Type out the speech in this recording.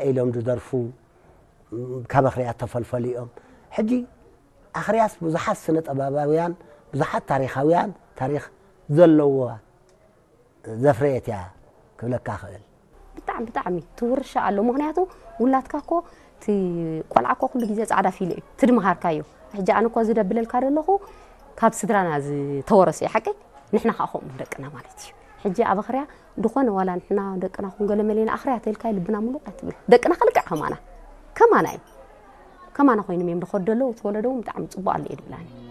ኢሎም ዝደርፉ ካብ ኣኽርያት ተፈልፈሉ እዮም። ሕጂ ኣኽርያስ ብዙሓት ስነ ጥበባውያን፣ ብዙሓት ታሪኻውያን፣ ታሪኽ ዘለዎ ዘፍረየት እያ ክብለካ እኽእል። ብጣዕሚ ብጣዕሚ ትውርሻ ኣሎ። ምክንያቱ ውላድካ እኮ እቲ ቆልዓ እኮ ኩሉ ግዜ ፃዕዳ ፊሎ እዩ ትድምሃርካዮ። ሕጂ ኣነ እኮ ዝደብለልካ ዘለኹ ካብ ስድራና ዝተወረሰ እዩ ሓቀይ። ንሕና ከዓ ከምኡ ደቅና ማለት እዩ። ሕጂ ኣብ ኣኽርያ ዝኾነ ዋላ ንሕና ደቅና ኩን ገለ መሌና ኣኽርያ ተልካ ልብና ምሉእ ኣይትብል። ደቅና ከልክዕ ከማና ከማና እዩ ከማና ኮይኖም እዮም ዝኸዱ ዘለዉ። እቲ ወለዶ እውን ብጣዕሚ ፅቡቅ ኣሎ እዩ ድብላኒ።